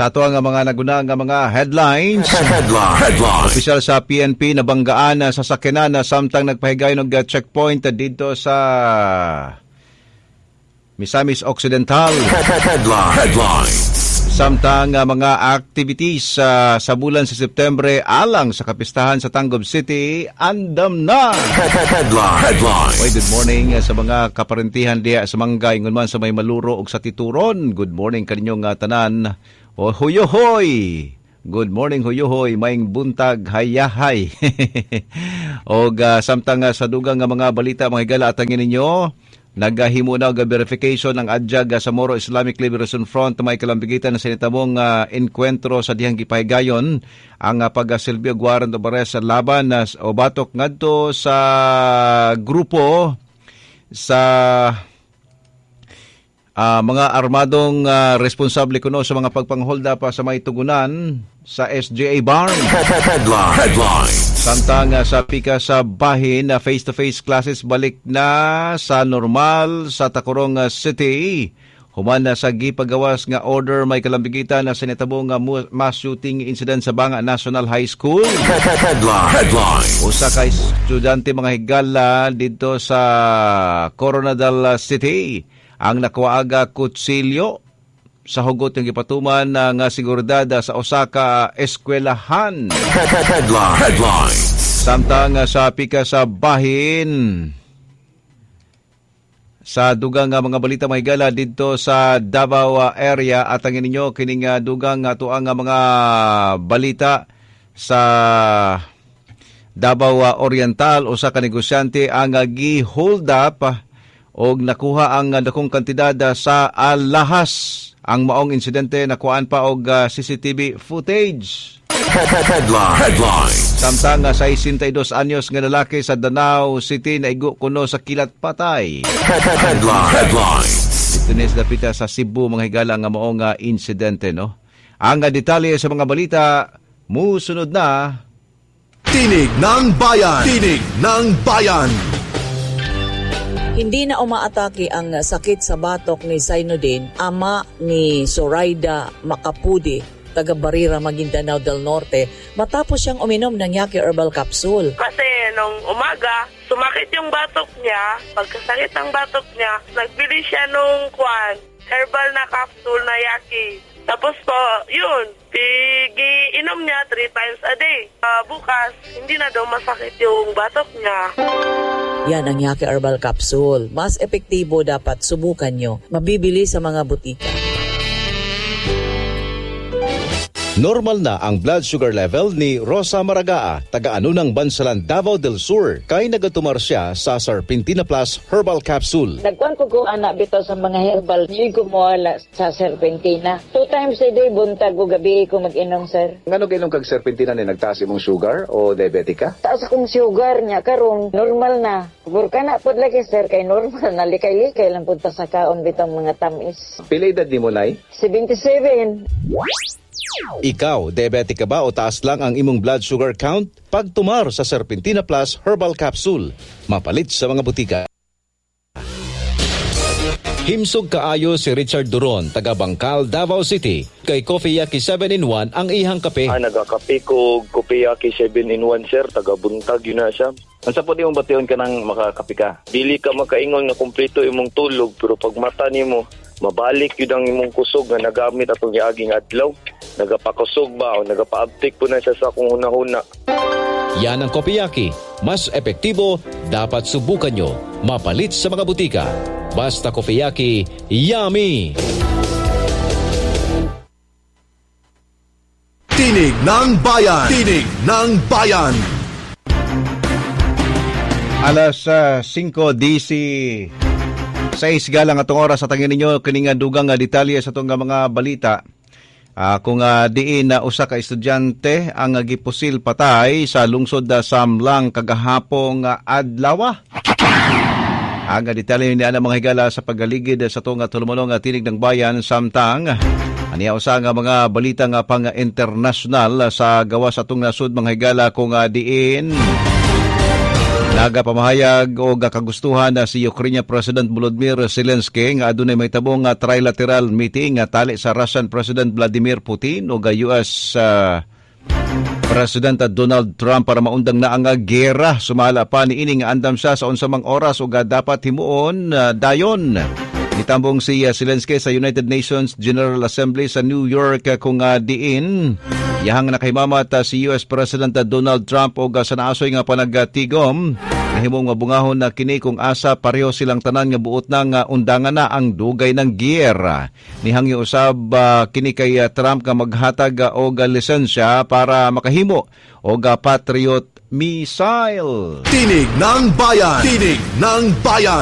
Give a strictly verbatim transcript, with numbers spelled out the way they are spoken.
Sa ato ang mga naguna nga mga headlines. Headline. Headline. Opisyal sa P N P nabanggaan sa sakyanan na samtang nagpahigayon og checkpoint dito sa Misamis Occidental. Headline. Headline. Samtang uh, mga activities uh, sa bulan sa Setyembre alang sa kapistahan sa Tangub City, andam na! Headline. Headline. Oy, good morning uh, sa mga kaparentihan diha sa Mangga, ingon man sa may Maluro ug sa Tituron. Good morning kaninyong uh, tanan. O huyohoy! Good morning, huyohoy, maayong buntag, hayahay. Og uh, samtang uh, sa dugang nga mga balita, mga higala, atangin ninyo, nagahimo na og verification ang adyag sa Moro Islamic Liberation Front may kalambigitan na sinitamong uh, enkwentro sa dihang gipahigayon ang uh, pagasilbi og warrant of arrest sa laban uh, o batok ngadto sa grupo sa uh, mga armadong uh, responsable kuno sa mga pagpangholda pa sa may tugunan sa S J A Barn. Headline. Headline. Samtang uh, sa pika sa bahin na face-to-face classes balik na sa normal sa Tacurong uh, City. Human na sa gipagawas nga order may kalambigitan na sinitabong nga mass shooting incident sa Banga National High School. Headline. Headline. Usa ka estudyante, mga higala, dito sa Koronadal City ang nakuwaaga kutsilyo sa hugot ng gipatuman uh, nga seguridad sa usa ka eskwelahan. Headline. Headline. Samtang uh, sa pika sa bahin sa dugang nga mga balita, mga higala, didto sa Davao area at ang ninyo kining uh, dugang nga tuang nga mga balita sa Davao Oriental, usa ka negosyante ang uh, gi-hold up og nakuha ang dakong kantidad sa alahas. Ang maong insidente nakuhaan pa og uh, C C T V footage. Headline. Headline. Samtang uh, sa sesenta y dos anyos nga lalaki sa Danao City naigo kuno sa kilat, patay. Headline. Headline. Dito ni sa dapita sa Cebu, mga higala, nga maong uh, insidente, no. Ang uh, detalye sa mga balita musunod na. Tinig ng Bayan. Tinig ng Bayan. Hindi na umaatake ang sakit sa batok ni Sainudin, ama ni Zoraida Macapudi, taga Barira, Maguindanao del Norte, matapos siyang uminom ng Yaki Herbal Capsule. Kasi nung umaga, sumakit yung batok niya. Pagkasakit ng batok niya, nagbili siya nung kwan, herbal na capsule na Yaki. Tapos po, yun, pigi inom niya three times a day. Ah, bukas, hindi na daw masakit yung batok niya. Yan ang Yaki Herbal Capsule. Mas epektibo, dapat subukan nyo. Mabibili sa mga butika. Normal na ang blood sugar level ni Rosa Maragaa, taga-Anunang Bansalan, Davao del Sur, kay nagatumar siya sa Serpentina Plus Herbal Capsule. Nagkuan ko ko ana bitaw sa mga herbal, di ko moala sa Serpentina. Two times a day, buntag o gabi ko mag-inom, sir. Ngano gainom kag Serpentina ni nagtaas imong sugar o diabetic ka? Taas akong sugar niya karon, normal na. Burka na pod lagi, sir, kay normal na, likay-likay lang pud ta sa kaon bitaw mga tamis. Pila edad nimo, Nay? seventy-seven. Ikaw, diabetic ka ba o taas lang ang imong blood sugar count? Pagtumar sa Serpentina Plus Herbal Capsule. Mapalit sa mga butika. Himsog kaayo si Richard Duron, taga Bangkal, Davao City. Kay Coffee Yaki seven in one ang ihang kape. Ah, nagakape ko Kopiyaki seven in one, sir, taga buntag yun na siya. Unsa po imong bation kanang makakape ka? Dili ka makaingon nga kumpleto imong tulog, pero pag mata nimo mabalik yun ang imong kusog nga nagamit atong giaging adlaw. Nagapakusog ba o nagapaabtik po na siya sa akong hunahuna. Yan ang Kopiyaki. Mas epektibo, dapat subukan nyo. Mapalit sa mga butika. Basta Kopiyaki, yummy! Tinig ng Bayan. Tinig ng Bayan. Alas uh, singko D C sais galang atong oras sa tangin ninyo kini nga dugang nga detalye sa atong nga mga balita. Ah, kung uh, diin na usa ka estudyante ang uh, gipusil patay sa lungsod uh, Samlang kagahapong uh, adlaw. Ang uh, detalye ni ana, mga higala, sa pagaligid sa atong uh, tulumonong uh, Tinig ng Bayan. Samtang aniya usa nga mga balita nga pang international sa gawas atong nasud, mga higala, kung uh, diin Nagapamahayag og kagustuhan na si Ukraine President Volodymyr Zelensky nga adunay mahitabo nga trilateral meeting nga tali sa Russian President Vladimir Putin ug U S uh, President Donald Trump para maundang na ang gera. Sumala pa niini nga andam siya sa unsa mang oras ug dapat himuon uh, dayon. Nitambong si uh, Zelensky sa United Nations General Assembly sa New York uh, kung uh, diin yahang nakahimamat uh, si U S President Donald Trump og uh, sa naasoy nga panagtigom nahimong mabungahon na kini kung asa pareho silang tanan nga buot na nga undangan na ang dugay ng giyera. Nihangyo usab uh, kini kay uh, Trump nga maghatag uh, og uh, lisensya para makahimo og uh, Patriot missile. Tinig ng Bayan. Tinig ng Bayan.